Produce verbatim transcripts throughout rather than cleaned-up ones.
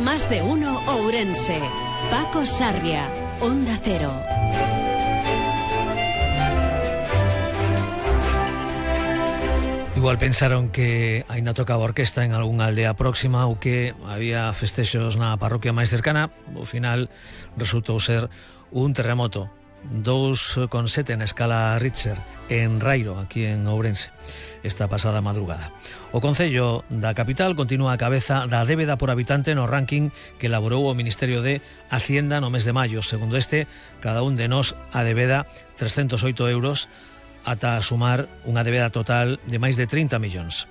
Más de uno Ourense. Paco Sarria, Onda Cero. Igual pensaron que aínda tocaba orquesta en algunha aldea próxima ou que había festexos na parroquia máis cercana. Ao final resultou ser un terremoto dous coma sete na escala Richter en Rairo, aquí en Ourense, esta pasada madrugada. O Concello da capital continúa a cabeza da débeda por habitante no ranking que elaborou o Ministerio de Hacienda no mes de maio. Segundo este, cada un de nós a débeda trescentos oito euros ata sumar unha débeda total de máis de trinta millóns.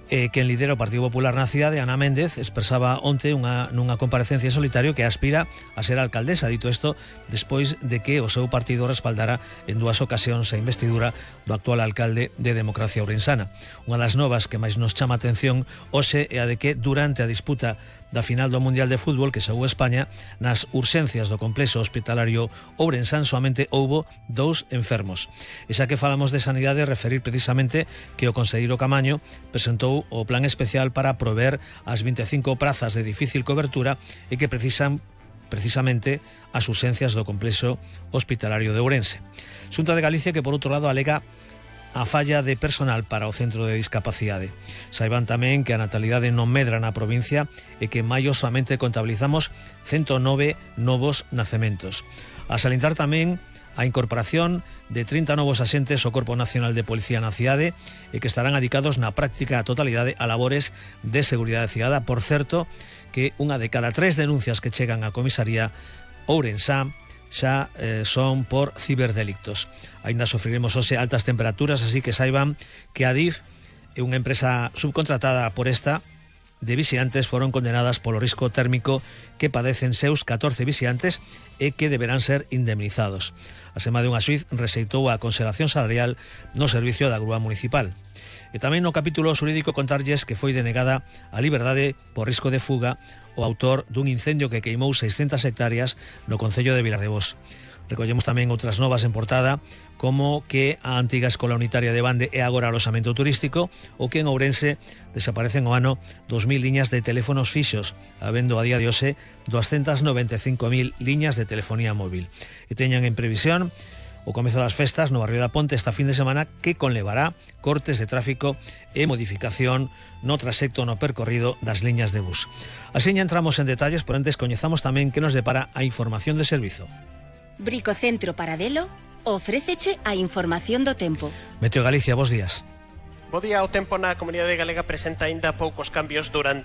Eh, quen lidera o Partido Popular na cidade, Ana Méndez, expresaba onte unha, nunha comparecencia en solitario que aspira a ser alcaldesa. Dito isto, despois de que o seu partido respaldara en dúas ocasións a investidura do actual alcalde de Democracia Ourensana. Unha das novas que máis nos chama a atención hoxe é a de que durante a disputa da final do Mundial de Fútbol que xogou España, nas urxencias do complexo hospitalario ourensán soamente houbo dous enfermos. E xa que falamos de sanidade, referir precisamente que o conselleiro Camaño presentou o plan especial para prover as vinte e cinco prazas de difícil cobertura e que precisan precisamente as urxencias do complexo hospitalario de Ourense. Xunta de Galicia que, por outro lado, alega a falla de personal para o centro de discapacidade. Saiban tamén que a natalidade non medra na provincia e que en maio somente contabilizamos ciento nove novos nacementos. A salientar tamén a incorporación de trinta novos axentes ao Corpo Nacional de Policía na cidade e que estarán adicados na práctica totalidade a labores de seguridade cidadá. Por certo, que unha de cada tres denuncias que chegan á comisaría ourensá xa eh, son por ciberdelictos. Ainda sofriremos hoxe altas temperaturas, así que saiban que a D I F e unha empresa subcontratada por esta de vixiantes foron condenadas polo risco térmico que padecen seus catorce vixiantes e que deberán ser indemnizados. A sema de unha xuíz rexeitou a conxelación salarial no servicio da grúa municipal. E tamén no capítulo xurídico contarlles que foi denegada a liberdade por risco de fuga o autor dun incendio que queimou seiscentas hectáreas no concello de Vilardevós. Recollemos tamén outras novas en portada, como que a antiga escola unitaria de Bande é agora aloxamento turístico, ou que en Ourense desaparecen o ano dos mil liñas de teléfonos fixos, habendo a día de hoxe doscientas noventa e cinco mil liñas de telefonía móvil. E teñan en previsión o comezo das festas no barrio da Ponte esta fin de semana, que conlevará cortes de tráfico e modificación no trasecto no percorrido das liñas de bus. Así ya entramos en detalles, por antes coñezamos tamén que nos depara a información de servizo. Bricocentro Paradelo ofréceche a información do tempo. Meteo Galicia, bos días. Bo día, o tempo na comunidade galega presenta aínda poucos cambios durante